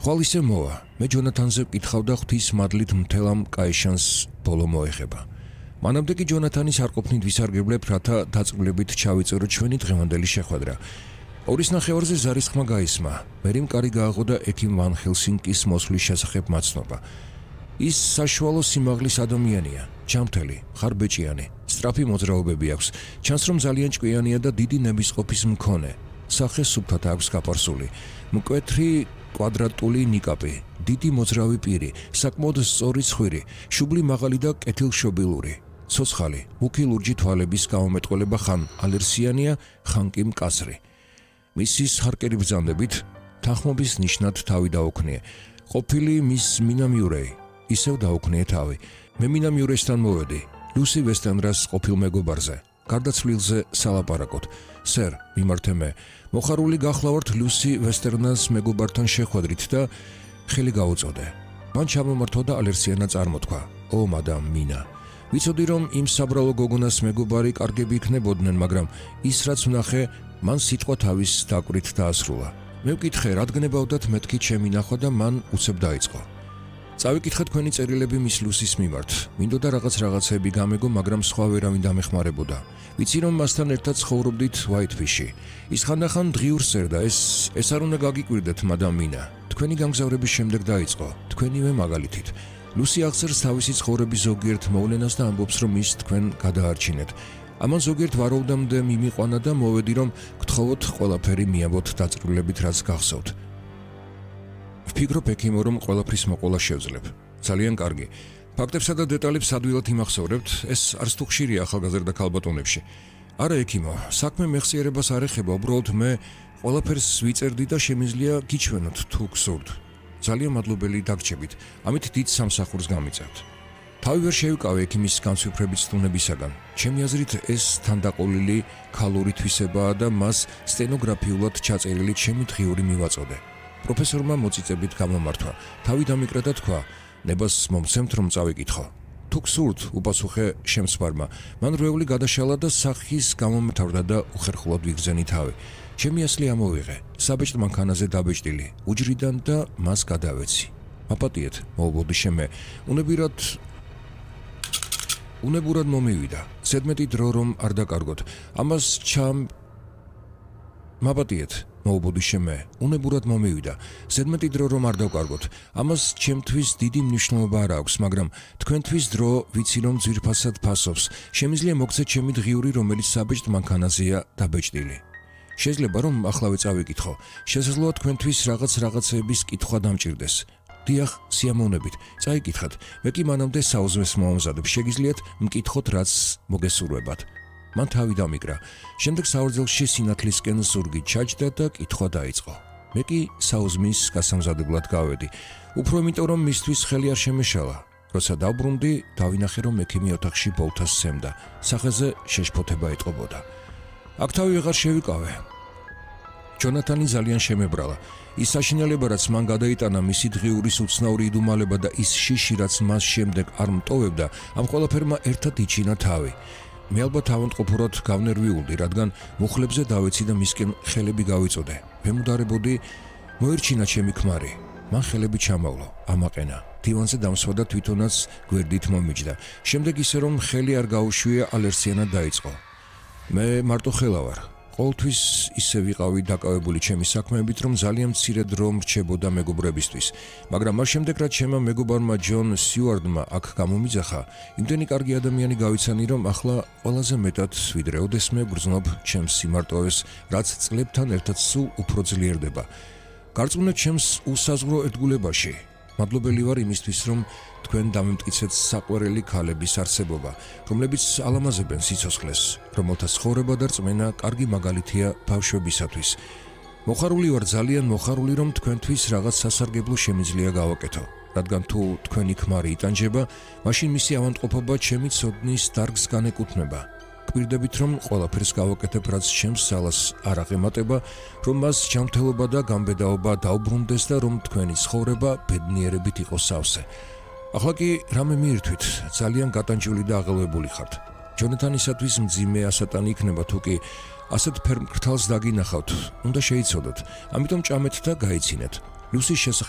ხვალ ისე მოვა. მე ჯონათანზე ვკითხავ და ღვთის მადლით მთელ ამ კაიშანს ბოლო მოეხება. მანამდე კი ჯონათანის არ ყოფნით ვისარგებლებთ, რათა დაწვრილებით ჩავიწეროთ ჩვენი დღევანდელი შეხვედრა. 2:30-ზე ზარის ხმა გაისმა. მერიმ კარი გააღო და ექიმ ვან ჰელსინკის მოსვლის შესახებ მაცნობა. ის საშუალო სიმაღლის ადამიანია, ჯამთელი, ხარბეჭიანი, სწრაფი მოძრაობები აქვს. ჩანს რომ ძალიან ჭკვიანია და დიდი ნებისყოფის მქონე. სახე სუფთად აქვს გაფარსული. მკვეთრი კვადრატული ნიკაპი, დიდი მოძრავი პირი, საკმაოდ სწორი ცხვირი, შუბლი მაღალი და კეთილშობილური. ცოცხალი, მუქი ლურჯი თვალების გამომეტყველება ხან ალერსიანია, ხან კი მკაცრი. მისის ჰარკერი ბრძანდებით თანხმობის ნიშნად თავი დაუქნია. ყოფილი მის მინა მიურეი, ისევ დაუქნია თავი. მე მინა მიურესთან მოვედი, ლუსი ვესტენრას ყოფილ მეგობარზე. გარდაცვლილზე სალაპარაკოთ. სერ, მიმართე მე. მოხარული გახლავართ ლუსი ვესტერნას მეგობართან შეხვედრით და ხელი გაუწოდე. მან ჩამომართვა და ალერსიანა წარმოთქვა. ო, მადამ მინა. ვიცოდი რომ იმ საბრალო გოგონას მეგობარი კარგები იქნებოდნენ, მაგრამ ის რაც ვნახე, მან სიტყვა თავის დაკვირით დაასრულა. მე ვკითხე, რადგნებავდათ მეთქი ჩემი ნახვა და მან უცებ დაიწყო. წავიკითხე თქვენი წერილები მის ლუსის მიმართ. მინდოდა რაღაცები გამეგო, მაგრამ სხვა ვერავინ დამეხმარებოდა. ვიცი რომ მასთან ერთად ცხოვრობდით ვაიტფიში. ის ხანდახან დღიურს წერდა, ეს არ უნდა გაგიკვირდეთ, მადამ მინა. თქვენი გამგზავრების შემდეგ დაიწყო, თქვენივე მაგალითით. ლუსი აღწერს თავისი ცხოვრების ზოგიერთ მოვლენას და ამბობს, რომ ის თქვენ გადაარჩინეთ. ამან ზოგიერთ ვარაუდამდე მიმიყვანა და მოვედი, რომ გთხოვოთ ყველაფერი მიაბოთ დაწვრილებით, რაც გახსოვთ. ვფიქრობ ექიმო, რომ ყველაფრის მოყოლა შევძლებ. ძალიან კარგი. ფაქტებსა და დეტალებს ადვილად იმახსოვრებთ, ეს არც თუ ხშირია ახალგაზრდა ქალბატონებში. არა ექიმო, საქმე მეხსიერებას არ ეხება, უბრალოდ მე ყველაფერს ვიწერდი და შემიძლია გიჩვენოთ თუ გსურთ. ძალიან მადლობელი დაგრჩებით. ამით დიდ სამსახურს გამიწევთ. თავი ვერ შევიკავე ექიმის განსვიფრებით სტუნებისაგან. ჩემი აზრით ეს თანდაყოლილი ქალური თვისებაა და მას სტენოგრაფიულად ჩაწერილი ჩემი დღიური მივაწოდე. პროფესორმა მოწიწებით გამომართვა. თავი დამიკრა და თქვა, ნებას მომცემთ რომ წავიკითხო. თუ გსურთ, უპასუხე შემსვარმა. მან რვეული გადაშალა და სახის გამომთავრდა და უხერხულად ვიგრძენი თავი. ჩემი ასლი ამოვიღე, საბეჭდ მანქანაზე დაბეჭდილი, უჯრიდან და მას გადავეცი. მაპატიეთ, მოუბოდიშე მე. უნებურად მომივიდა. ზედმეტი დრო რომ არ დაკარგოთ. ამას მაპატიეთ, მოუბოდიშე მე. უნებურად მომივიდა. ზედმეტი დრო რომ არ დავკარგოთ. ამას ჩემთვის დიდი მნიშვნელობა არ აქვს, მაგრამ თქვენთვის დრო ვიცი რომ ძვირფასად ფასობს. შემიძლია მოგცეთ ჩემი დღიური, რომელიც საბეჭდ მანქანაზეა დაბეჭდილი. შეიძლება რომ ახლავე წავიკითხო. შესაძლოა თქვენთვის რაღაცეების კითხვა დამჭირდეს. დიახ, სიამოვნებით. წაიკითხეთ. მე კი მანამდე საუზმეს მომამზადებ. შეგიძლიათ მკითხოთ, რაც მოგესურვებათ. მან თავი დამიკრა. შემდეგ საორძელში სინათლისკენ ზურგი ჩაჯდა და კითხვა დაიწყო. მე კი საუზმის გასამზადებლად გავედი. უფრო იმიტომ რომ მისთვის ხელი არ შემეშალა. როცა დავბრუნდი, დავინახე რომ ექიმი ოთახში ბოლთას სცემდა. სახეზე შეშფოთება ეტყობოდა. აქ თავი ვეღარ შევიკავე. ჯონათანი ძალიან შემებრალა. ის საშინელება, რაც მან გადაიტანა, მისი დღიურის უცნაური იდუმალება და ის შიში, რაც მას შემდეგ არ მტოვებდა, ამ ყველაფერმა ერთად იჩინა თავი. მე ალბათ ავანტყოფურად გავნერვიულდი, რადგან მუხლებზე დავეცი და მისკენ ხელები გავიწოდე. ვემუდარებოდი, მოერჩინა ჩემი ქმარი. მან ხელები ჩამავლო, ამაყენა. დივანზე დამსვა და თვითონაც გვერდით მომიჯდა. შემდეგ ისე რომ ხელი არ გაუშვია, ალერსიანა დაიწყო. მე მარტო ხელა ვარ. ყოველთვის ისე ვიყავი დაკავებული ჩემი საქმეებით, რომ ძალიან მცირე დრო მრჩებოდა მეგობრებისთვის. მაგრამ მას შემდეგ, რაც ჩემმა მეგობარმა ჯონ სიუარდმა აქ გამომიძახა, იმდენი კარგი ადამიანი გავიცანი, რომ ახლა ყველაზე მეტად ვიდრე ოდესმე ვგრძნობ ჩემს სიმარტოვეს, რაც წლებთან ერთად სულ უფრო ძლიერდება. გარწმუნეთ ჩემს უსაზღვრო ერთგულებაში. მადლობელი ვარ იმისთვის, რომ თქვენ დამემტკიცეთ საყვარელი ქალების არსებობა, რომლებიც ალამაზებენ სიცოცხლეს, რომელთა ცხოვრება და რწმენა კარგი მაგალითია ბავშვებისათვის. მოხარული ვარ, ძალიან მოხარული, რომ თქვენთვის რაღაც სასარგებლო შემიძლია გავაკეთო, რადგან თუ თქვენი ქმარი იტანჯება, მაშინ მისი ავანტყოფობა ჩემი ცოდნის დარგს განეკუთვნება. გვირდებით რომ ყველაფერს გავაკეთებ, რაც ჩემს ძალას არ აღემატება, რომ მას ჯანმრთელობა და გამბედაობა დაუბრუნდეს და რომ თქვენი ცხოვრება ბედნიერებით იყოს სავსე. ახლა კი რამე მიირთვით, ძალიან გატანჯული და აღელვებული ხართ. ჯონათანისათვის მძიმე ასატანი იქნება, თუ კი ასეთ ფერმკრთალს დაგინახავთ, უნდა შეიცოდოთ. ამიტომ ჭამეთ და გაიცინეთ. ლუსის შესახებ